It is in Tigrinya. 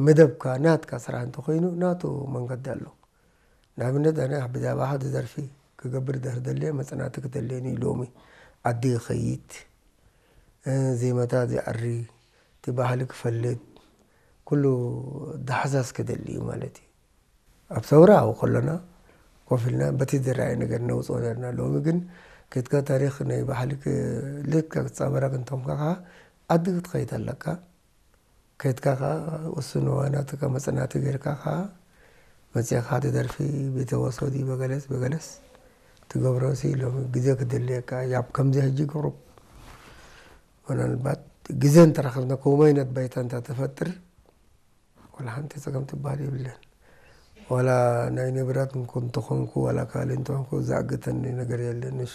መደብካ ናትካ ስራሕ እንተኾይኑ ናቱ መንገዲ ኣሎ። ንኣብነት ኣነ ብዛዕባ ሓደ ደርፊ ክገብር ድሕር ደልየ መጽናዕቲ ክደልየኒ ሎሚ ዓዲ ክኸይድ፣ ዜማታት ዝኣሪ፣ እቲ ባህሊ ክፈልጥ፣ ኩሉ ዳሕሳስ ክደሊ እዩ ማለት እዩ። ኣብ ሰውራ ኣብኡ ከሎና ኮፍ ኢልና በቲ ዝረኣየ ነገር ነውፅኦ ነርና። ሎሚ ግን ከድካ ታሪኽ ናይ ባህሊ ልካ ክትፃበረክ እንተኾንካ ከዓ ዓዲ ክትኸይድ ኣለካ። ከድካ ከዓ ውሱን እዋናትካ መፅናዕቲ ጌርካ ከዓ መፅእካ ሓደ ደርፊ ብተወሰዲ በገለስ በገለስ ትገብሮ ሲ ሎሚ ግዜ ክደልየካ ያብ ከምዚ ሕጂ ቅሩብ ምናልባት ግዜ እንተረኸብና ከምኡ ዓይነት ባይታ እንተተፈጥር ዋላ ሓንቲ ፀገም ትበሃል የብለን። ዋላ ናይ ንብረት እንተኾንኩ ዋላ ካልእ እንተኾንኩ ዝኣግተኒ ነገር የለን። ንሱ